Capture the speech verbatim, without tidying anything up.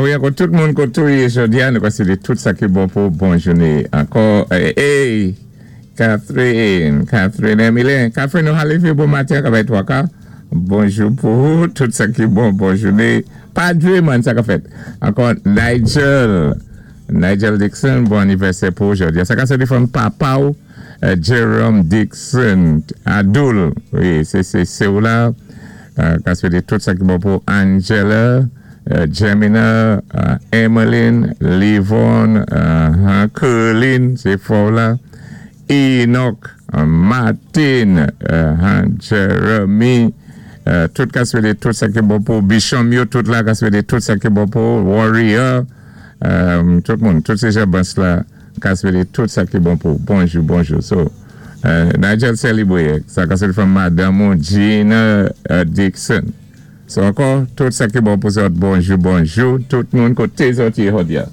Wi, ankò tout moun koté ou yé jòdi-a, nou ka swété tout sa ki bon pou bon jouné. Ankò, hey, Catherine, Catherine Emilien. Catherine, nou lévé bon maten, ka bay twa ka. Bonjou pou tout sa ki bon, bon jouné. Pa dwé man, sa ka fèt. Ankò, Nigel, Nigel Dixon, bon anivèsè pou jòdi. Sa ka soti from papa ou, euh, Jerome Dixon, Adoul. Wi, sé sé sé ou la. Euh, ka swété tout sa ki bon pou Angela, euh, Gemina, euh, Emmeline, Livon, euh, Kerlin, sé fò la. Enoch, euh, Martin, euh, Jeremy, euh, tout ka swété tout sa ki bon pou Bichon yo, tout la ka swété tout sa ki bon pou Warrior, euh, tout moun, tout sé jabans la ka swété tout sa ki bon pou. Bonjou, bonjou. So, euh, Nigel sélibwé, sa ka swété from Madame Gina euh, Dixon. So, ankò, tout sa ki bon pou zòt, bonjou, bonjou, tout moun koté zòt yé jòdi-a.